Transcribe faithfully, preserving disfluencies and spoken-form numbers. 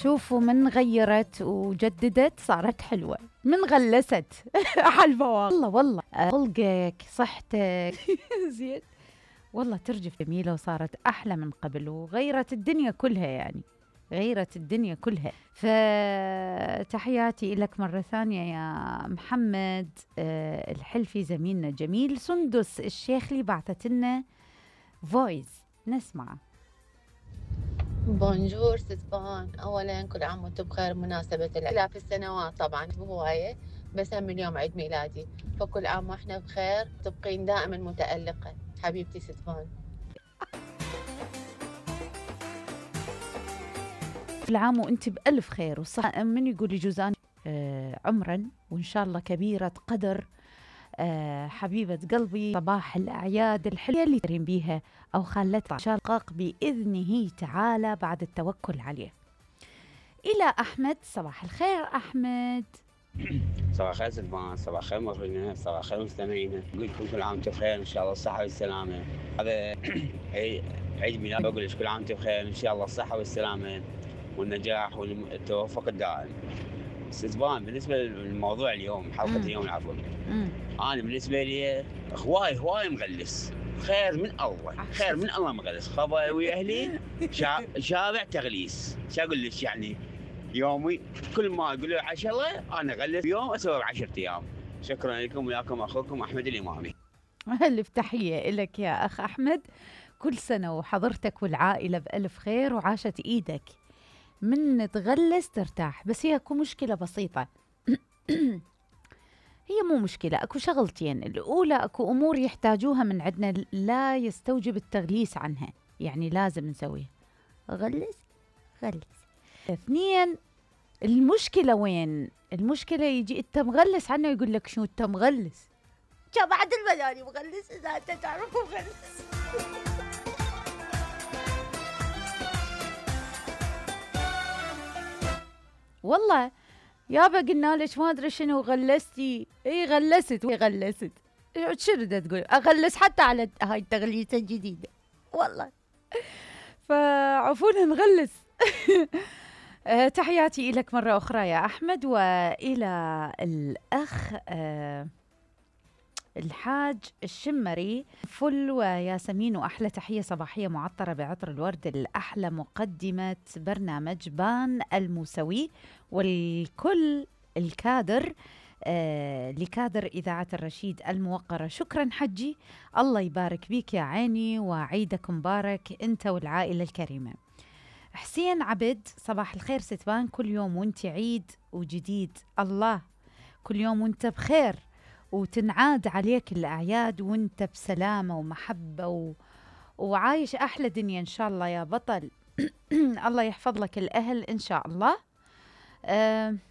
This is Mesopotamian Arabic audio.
شوفوا من غيرت وجددت صارت حلوة، من غلست حلوة والله والله. خلقك صحتك زين والله ترجف جميلة وصارت أحلى من قبل وغيرت الدنيا كلها، يعني غيرت الدنيا كلها. فتحياتي لك مرة ثانية يا محمد أه الحلفي زميلنا جميل. سندس الشيخلي بعثت لنا فويس نسمعه. بونجور ستفان، اولا كل عام وانتم بخير بمناسبة الالاف السنوات، طبعا بهواية بس هم اليوم عيد ميلادي، فكل عام واحنا بخير، تبقين دائما متألقة حبيبتي ستفان. كل عام وانت بألف خير وصح. من يقول جوزان آه عمرا وان شاء الله كبيرة قدر. آه حبيبة قلبي، صباح الأعياد الحلوة اللي ترين بيها أو خلتها شاقق بإذنه تعالى بعد التوكل عليه. إلى أحمد، صباح الخير أحمد. صباح الخير سلمان، صباح الخير مخرجنا، صباح الخير مستمعينا، نقول لكم كل عام وانتم بخير ان شاء الله الصحة والسلامة. هذا عيد ميلاد، بقول لك كل عام وانتم بخير ان شاء الله الصحة والسلامة والنجاح والتوفق الدائم. سلمان، بالنسبة للموضوع اليوم، حلقة مم. اليوم العفو، مم. أنا بالنسبة لي هواي هواي مغلس، خير من الله، خير من الله مغلس، خبا ويا أهلي شا... شارع تغليس، شو أقول لك يعني يومي كل ما يقولوا عشرة أنا أغلس يوم أسوي عشرة أيام. شكرا لكم، وياكم أخوكم أحمد الإمامي. ألف تحية لك يا أخ أحمد، كل سنة وحضرتك والعائلة بألف خير وعاشت إيدك. من تغلس ترتاح، بس هي اكو مشكلة بسيطة هي مو مشكلة، اكو شغلتين. الأولى اكو أمور يحتاجوها من عندنا لا يستوجب التغليس عنها، يعني لازم نسويها. غلس غلس. اثنين، المشكلة وين؟ المشكلة يجي انت مغلس عنه يقول لك شو انت مغلس؟ جا بعد المداري مغلس اذا انت تعرف مغلس. والله يابا قلنا لك ما ادري شنو غلستي. اي غلست وغلست، شنو دا تقول؟ اغلس حتى على هاي التغليسه الجديده والله. فعفونا نغلس. أه تحياتي لك مرة أخرى يا أحمد، وإلى الأخ أه الحاج الشمري فل وياسمين، وأحلى تحية صباحية معطرة بعطر الورد الأحلى مقدمة برنامج بان الموسوي والكل الكادر آه لكادر إذاعة الرشيد الموقرة. شكرا حجي، الله يبارك بيك يا عيني، وعيدك مبارك أنت والعائلة الكريمة. حسين عبد، صباح الخير ستبان، كل يوم وانت عيد وجديد، الله كل يوم وانت بخير وتنعاد عليك الأعياد وانت بسلامة ومحبة و... وعايش أحلى دنيا إن شاء الله يا بطل. الله يحفظ لك الأهل إن شاء الله. أه